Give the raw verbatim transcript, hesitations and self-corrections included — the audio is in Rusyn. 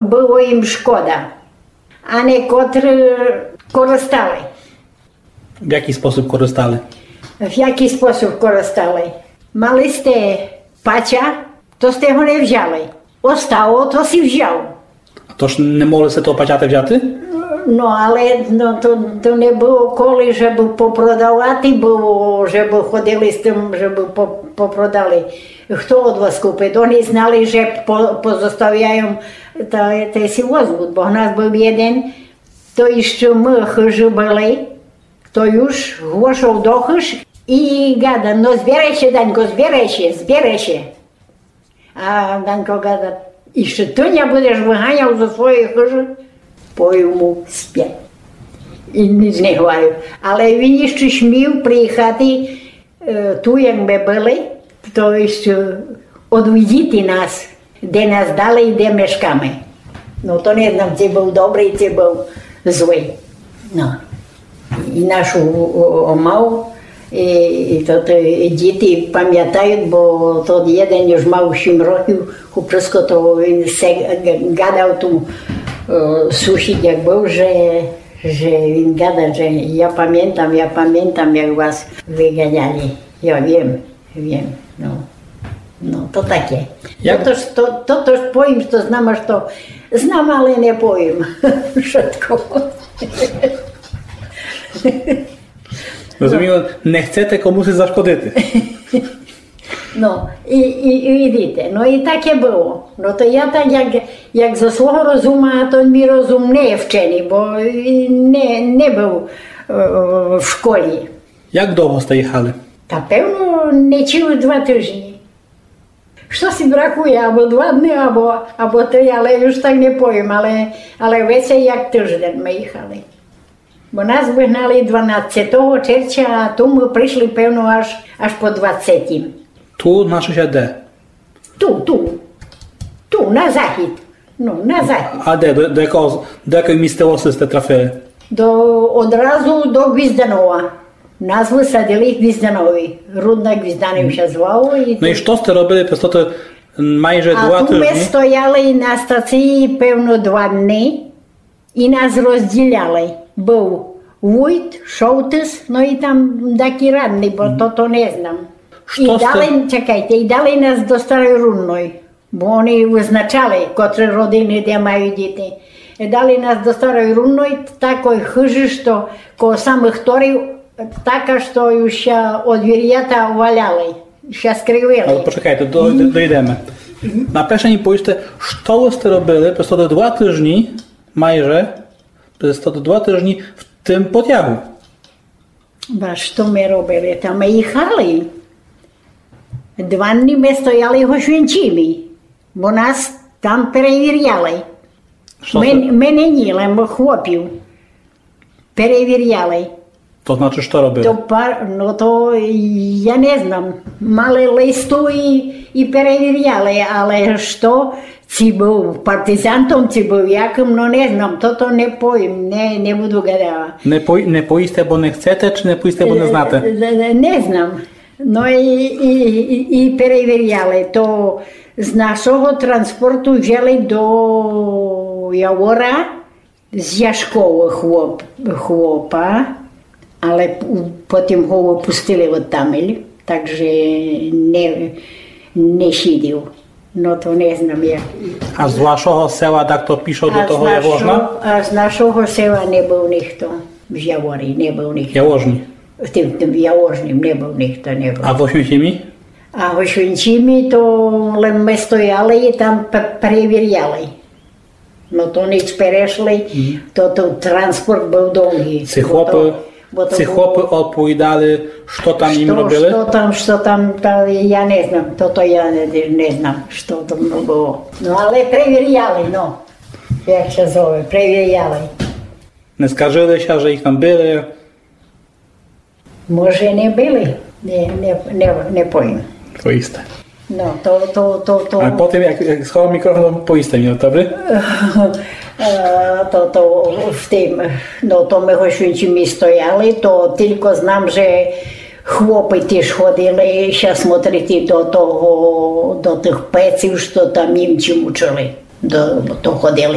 Было їм шкода. А некотры користали. В якый спосіб користали? В якый спосіб користали? Мали сте пача, то сте го не взяли. Остало, то си взяв. А то ж не могли сте того пачата взяти? Но, але но, то, то не было коли, жебы попродавати было, жебы ходили з тым, жебы по-, попродали. Хто од вас купит? Они знали, же по-, позоставяю та, та си возмут, бо в нас был єден, то іщы мы хыжы были, то юж глошал до хыж і гада: «Но зберай ся, Данько, зберай ся, зберай ся». А Данько гада: «Іщы ты ня будеш выганял зо своєй хыжы?» Повів му: «Спи». І ніч не говорив. Але він іщы смів приїхати, е, ту, як мы были, то іщы одвідіти нас, де нас дали і де мешкаме. Но то не знам, ци был добрый, ци был злый. Но. І нашу, о, о, мав, і, і то, то і діти памятают, бо тот єден юж мав сім років, хлопчисько, то він се г-, гадав ту, е, сусід, як был, же, же він гадав, же я памятам, я памятам, як вас выганяли. Я вім, вім, но. Но, то таке. Як... То, то, то, то ж повім, што знам, а што знам, але не повім. Вшытко. Розумію, не хцете комусь зашкодити. Но, і, і, і видите, но і таке было. Но то я так, як, як зо свого розума, а то мій розум не є вченый, бо і не, не был, е, в школі. Як довго сте їхали? Та певно, не цілых два тыжні. Штоси бракує, або два дни, або, або три, але юж так не повім, але, але веце як тыждень мы їхали. Бо нас выгнали дванадцятого червця, а ту мы пришли, певно, аж, аж по двадцятім. Ту, на сусіде? Ту, ту. Ту, на захід. Но, на захід. А де, до, до якого, до якої місцевости сте трафили? До, одразу до Гвізданова. Нас высадили в Гвізданові. Рудно Гвізданів ся звало. І... Но і што сте робили през тоты майже два тыжні? А ту мы стояли на стації, певно, два дни. І нас розділяли. Был вуйт, шовтыс, но і там такі радні, бо то, то не знам. І дали, чекайте, і дали нас до Старой Рудной, бо они визначали, котры родины де мают діти. І дали нас до Старой Рудной, такой хыжы, што коло самых торів, така, што юж ся одвірята валяли, ся скривили. Але почекайте, до-, до-, дойдеме. Наперше мі повіджте, што вы сте робили през тоты два тыжні, майже, през тоты два тыжні в тым потягу? Ба што мы робили? Та мы їхали. Два дни мы стояли в Гошвінчімі, бо нас там перевіряли. Што сте... Мы, мы не, ні, лем хлопів. Перевіряли. То значыт, што робили? То пар-, но то я не знам. Мали листу і, і перевіряли, але што, ци был партизантом, ци был якым, но не знам. Тото не повім, не, не буду гадала. Не пой-, не повісте, бо не хцете, чи не повісте, бо не знате? Е, е, не знам. Но і, і, і, і перевіряли. То з нашого транспорту взяли до Явора, з Яшкова хлоп-, хлопа, але п-, потім го выпустили одтамель, так же не, не сидів. Но то не знам як. А з вашого села дакто пішов до того Яворна? А з нашого села не был нихто. В Яворі не был нихто. Яворні? В тым, тым Яворнім не был нихто, не был. А в Гошвінчімі? А в Гошвінчімі то лем мы стояли і там п-, перевіряли. Но то ніч перешли, то, то транспорт был довгый. Ци хлопы, ци хлопы оповідали, што там їм робили? Што там, што там, та я не знам, тото я не, не знам, што там было. Но але перевіряли, но, як ся зове, перевіряли. Не скаржили ся, же їх там били? Може, не били, не, не, не, не повім. Повісте. Но, то, то, то, то... А потім, як, як сховам мікрофон, повісте мі, добрі? Е, то, то в тым, но, то мы в Гошвінчімі стояли, то тілько знам, же хлопы тіж ходили ся смотрити до того, до тых пеців, што там німці мучили. До, то ходили